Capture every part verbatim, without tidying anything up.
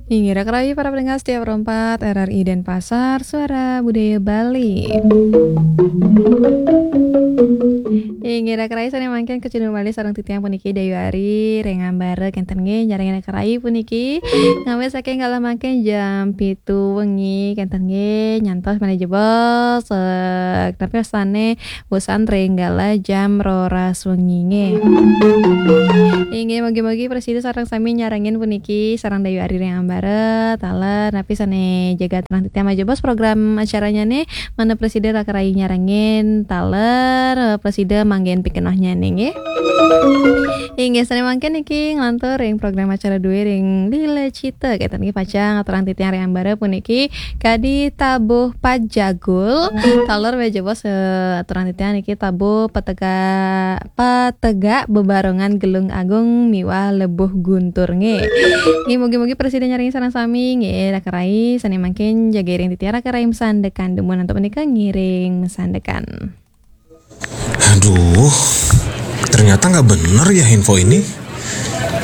Inggih, raka rayi para pendengar setia Pro empat R R I Denpasar, Suara Budaya Bali. Inggih, raka rayi sané mangkin kacunduk malih sareng titiang puniki Dayu Ari ring ambara kénten nggih, nyarengin raka rayi puniki. Ngawit saking kala mangkin jam pitu wengi kénten nggih, nyantos malih jebos, eh, tapi sané wusan ring kala jam roras wengi nggih. Inggih, mugi-mugi prasida sareng sami nyarengin puniki sareng Dayu Ari ring ambara, taler napi sané jaga aturang titiang malih jebos program acaranyané, mangda prasida raka rayi nyarengin, taler, eh, prasida manggihin pikenohnyané nggih. Inggih, sané mangkin niki nglantur ring program acara dué ring Lila Cita, kénten nggih pacang aturang titiang ring ambara puniki kadi tabuh pajagul, taler malih jebos, eh, aturang titiang niki tabuh petega-, petegak bebarengan Gelung Agung miwah Lebuh Guntur nggih. Nggih, mugi-mugi prasida nyarengin sareng sami nggih, raka rayi sané mangkin jaga iring titiang raka rayi masandekan, dumun antuk punika ngiring masandekan. Aduh, ternyata nggak bener ya info ini.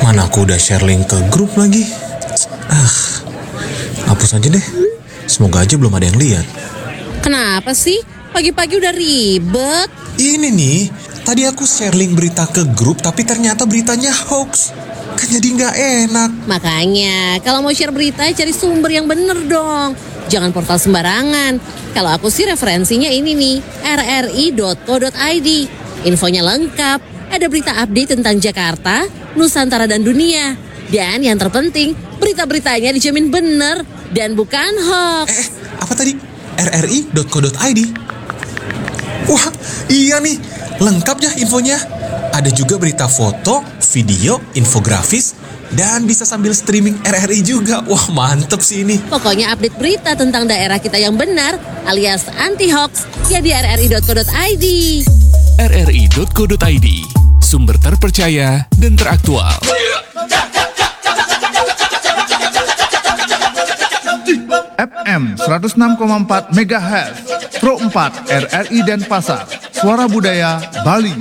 Mana aku udah share link ke grup lagi. Ah, hapus aja deh. Semoga aja belum ada yang lihat. Kenapa sih? Pagi-pagi udah ribet. Ini nih, tadi aku share link berita ke grup tapi ternyata beritanya hoax. Kan jadi nggak enak. Makanya, kalau mau share berita, cari sumber yang bener dong. Jangan portal sembarangan. Kalau aku sih referensinya ini nih, R R I dot co dot I D. Infonya lengkap, ada berita update tentang Jakarta, Nusantara dan dunia. Dan yang terpenting, berita-beritanya dijamin bener dan bukan hoax. Eh, apa tadi? R R I dot co dot I D. Wah, iya nih, lengkap ya infonya. Ada juga berita foto, video, infografis, dan bisa sambil streaming R R I juga. Wah, mantep sih ini. Pokoknya update berita tentang daerah kita yang benar alias anti hoax ya di R R I dot co dot I D. R R I dot co dot I D, sumber terpercaya dan teraktual. F M seratus enam koma empat megahertz, Pro empat R R I Denpasar, Suara Budaya Bali.